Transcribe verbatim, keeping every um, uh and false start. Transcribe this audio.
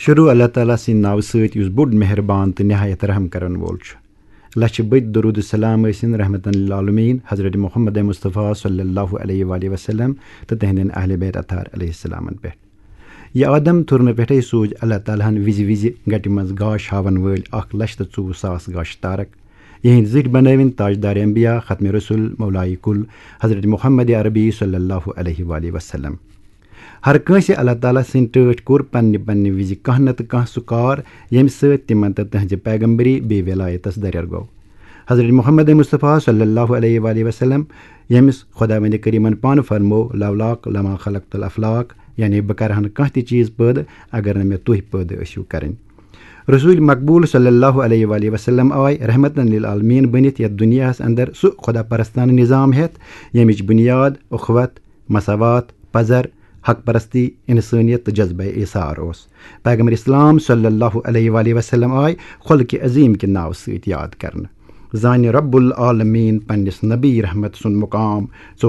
شروع اللہ تعالیٰ سٕنٛدِ ناوٕ سۭتۍ، یُس بوٚڑ مہربان تہٕ نہایت رحم کرن وول چھُ۔ لچھِ بٔدۍ درود و سلام ٲسِن رحمتن للعالمین حضرت محمد مصطفیٰ صلی اللہ علیہ وآلہ وسلم تہٕ تِہنٛدٮ۪ن اہل بیت اطہار علیہ السلامن پٮ۪ٹھ۔ یہِ آدم تھُرنہٕ پٮ۪ٹھے سوٗزۍ اللہ تعالیٰ ہن وِزِ وِزِ گٹہِ منٛز گاش ہاوَن وٲلۍ اکھ لچھ تہٕ ژوٚوُہ ساس گاشہِ تارک، یِہنٛدۍ زِٹھۍ بنٲوِن تاجدار انبیاء، ختم رسول، مولائے کل حضرت محمد عربی صلی اللہ علیہ وآلہ وسلم۔ ہر کٲنٛسہِ اللہ تعالیٰ سٕنٛدِ ٹٲٹھۍ کوٚر پننہِ پننہِ وِزِ کانٛہہ نتہٕ کانٛہہ سُہ کار، ییٚمہِ سۭتۍ تِمن تہٕ تہنٛزِ پیغمبری بیٚیہِ ولایتس دریر گوٚو۔ حضرت محمد مصطفیٰ صلی اللہ علیہ وآلہ وسلم، ییٚمِس خداوندِ کریمن پانہٕ فرموو، "لولاک لما خلقت الافلاک"، یعنی بہٕ کرٕ ہا نہٕ کانٛہہ تہِ چیٖز پٲدٕ اگر نہٕ مےٚ تُہۍ پٲدٕ ٲسِو کرٕنۍ۔ رسول مقبول صلی اللہ علیہ وآلہ وسلم آے رحمتن للعالمین بٔنِتھ یتھ دُنیاہس اندر سُہ خدا پرستانہٕ نظام ہٮ۪تھ، ییٚمِچ بُنیاد اخوت، مساوات، پزر، حق پرستی، انسٲنیت تہٕ جذبہ ایثار اوس۔ پیغمبر اسلام صلی اللہ علیہ وآلہ وسلم آے خلق عظیم کہِ ناوٕ سۭتۍ یاد کرنہٕ۔ زانہِ رب العالمین پننِس نبی رحمت سُنٛد مقام ژور